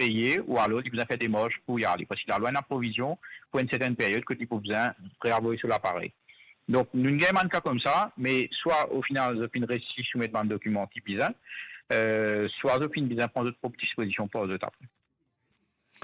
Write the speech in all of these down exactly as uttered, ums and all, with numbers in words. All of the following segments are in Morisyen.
peye, ou alor li bizin fer demars pou li ale, parski lalwa ena provizion pou enn sertenn period kot li pou bizin reavoy so laparey. Donk, nou gagn bann ka koumsa, me swa o final zot finn resi soumet bann dokiman ki bizin, eh, swa zot finn bizin pran zot prop dispozision par zot apre.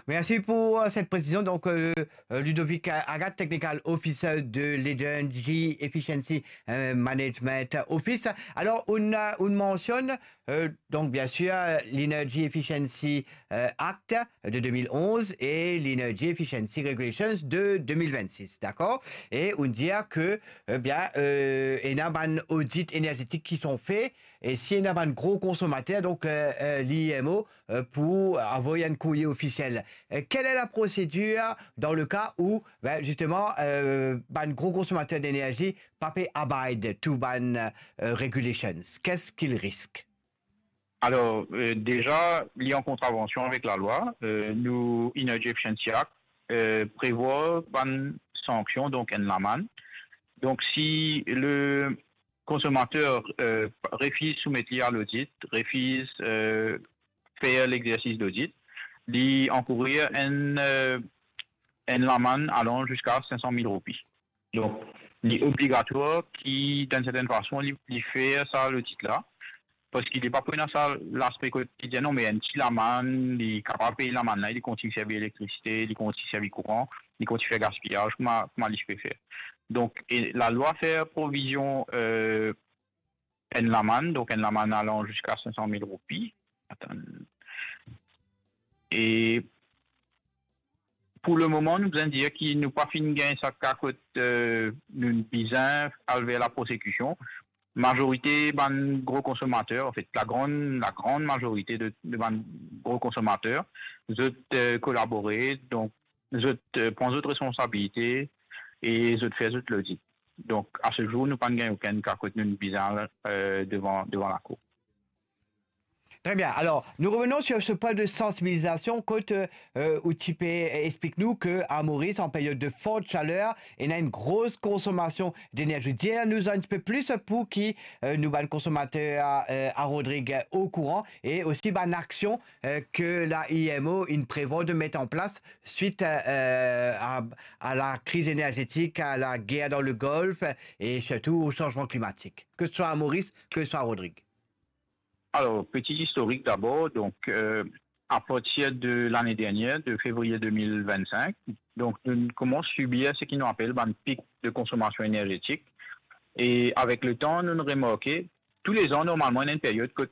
Merci pour euh, cette précision. Donc, euh, euh, Ludovic Agathe, Technical Officer de l'Energy Efficiency euh, Management Office. Alors, on, on mentionne euh, donc bien sûr l'Energy Efficiency euh, Act de deux mille onze et l'Energy Efficiency Regulations de deux mille vingt-six, d'accord? Et on dit que, eh bien, euh, il y a un audit énergétique qui sont faits et si il y a un gros consommateur, donc euh, euh, l'I M O euh, pour envoyer un courrier officiel. Euh, quelle est la procédure dans le cas où, ben, justement, euh, ben, un gros consommateur d'énergie pas peut abide to ban euh, regulations? Qu'est-ce qu'il risque? Alors, euh, déjà, il y a en contravention avec la loi. Euh, nous, Energy Efficiency Act euh, prévoit une sanction, donc une amende. Donc, si le consommateur euh, refuse soumettre à l'audit, refuse euh, faire l'exercice d'audit, li encourir une, euh, une amende allant jusqu'à cinq cent mille roupies. Donc, li obligatoire ki, d'une certaine façon, li, li fer sa l'audit la, parski li pa pou ena sa laspe kot ki dir non, me enn ti lamann, li kapav pey lamann la, li kontign servi elektrisite, li kontign servi kouran, li kontign fer gaspiyaz, kouma, kouma li pe fer. Donk, e lalwa fer provizion euh, enn lamann, donk enn lamann alan ziska cinq cent mille roupi. Atann. E pou lemoman, nou bizin dir ki nou pa finn gagn sa ka kot euh, nou bizin al ver laprosekision. Mazorite bann gro konsomater, anfet, lagran, lagran mazorite de, de bann gro konsomater, zot euh, kolabore, donk zot euh, pran zot responsabilite e zot fer zot lodit. Donk, a se zour, nou pa gagn okenn ka kot nou bizin al euh, devan, devan lakour. Très bien. Alors, nous revenons sur ce point de sensibilisation. Kot euh, ou ti pe explik nou ke à Maurice, en période de forte chaleur, il y a une grosse consommation d'énergie. Dis-nous un petit peu plus pour qui euh, nous ban consommateurs euh, à Rodrigue au courant et aussi ban action euh, que la I M O il prévoit de mettre en place suite euh, à, à la crise énergétique, à la guerre dans le Golfe et surtout au changement climatique, que ce soit à Maurice, que ce soit à Rodrigue. Alors, petit historique d'abord. Donc, euh, à partir de l'année dernière, de février deux mille vingt-cinq, donc nous commençons à subir ce qui nous appelle un pic de consommation énergétique. Et avec le temps, nous remarquons, tous les ans, normalement, il y a une période que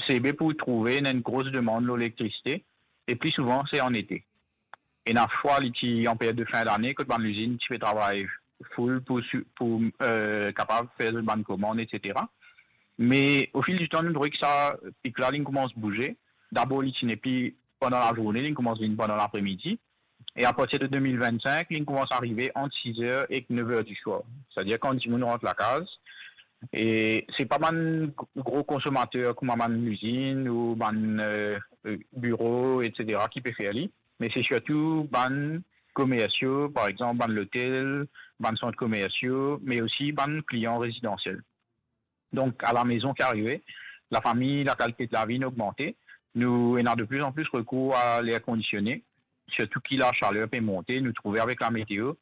c'est pour trouver une grosse demande d'électricité, et plus souvent, c'est en été. Ena fwa li ti an period de fin dane, kot bann lizinn ti pe travay full pou, pou euh, kapav fer zot bann komann, etsetera. Me o fil di tan, nou trouve ki sa pik la, li komans bouze. Dabor, li ti nepli pandan lazourne, li komans vinn pandan lapremidi. E apartir de deux mille vingt-cinq, li komans arive ant six heures ek neuf heures du soir. Setadir kan dimoun rant lakaz, e se pa bann gro konsomater kouma bann lizinn ou bann euh, biro, etsetera ki pe fer li, me se sirtou bann komersio, par exanp, bann lotel, bann sant komersio, me osi bann klian rezidansiel. Donk, a lamezon ki arive, lafami, lakalite de lavi inn ogmante, nou ena de plus en plus recours à l'air conditionné, sirtou ki lasaler pe monte, nou trouve avek lameteo,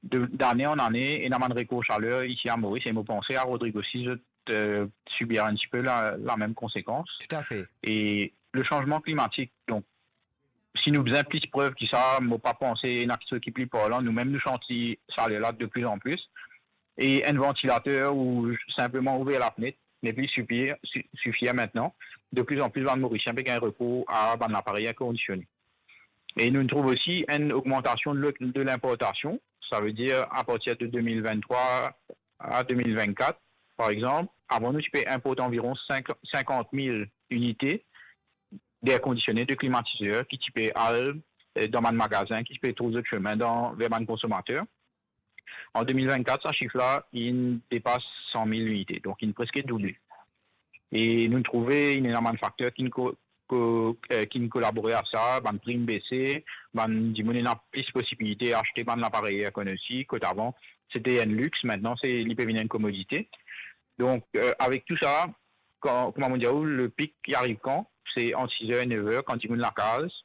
de, d'ane an ane, ena bann rekor saler isi a Moris, e mo panse a Rodrig osi, zot euh, subir un petit peu la, la même conséquence. Tout à fait. Et le changement climatique, donc, si nou bizin plis prev ki sa, mo pa panse ena kiksoz ki pli parlan, nou mem nou santi saler la de plus en plus. E enn vantilater ou sinpleman ouver lafnet nepli sifir, sifir aster. De plus en plus, bann Morisien pe gagn rekour a bann laparey air kondisione. E nou trouv osi enn ogmantasion de, de linportasion, savedir apartir de deux mille vingt-trois à deux mille vingt-quatre, par exanp, avan nou ti pe inport anviron cinquante mille inite d'air conditionné, de klimatizer ki ti pe al euh, dan bann magazin, ki ti pe trouv zot semin dan, ver bann konsomater. An deux mille vingt-quatre, sa sif la, inn depas cent mille inite, donk inn preske double. E nou trouve inn ena bann fakter ki inn ko, ko, euh, ki inn kolabore a sa, bann prim bese, bann dimoun ena plis posibilite aste bann laparey air conditionné, kot avan se te enn lix, aster se, li pe vinn enn komodite. Donk, euh, avek tou sa, kan, kouma mo dir ou, le pik li ariv kan? Se ant six heures e neuf heures, kan dimoun lakaz,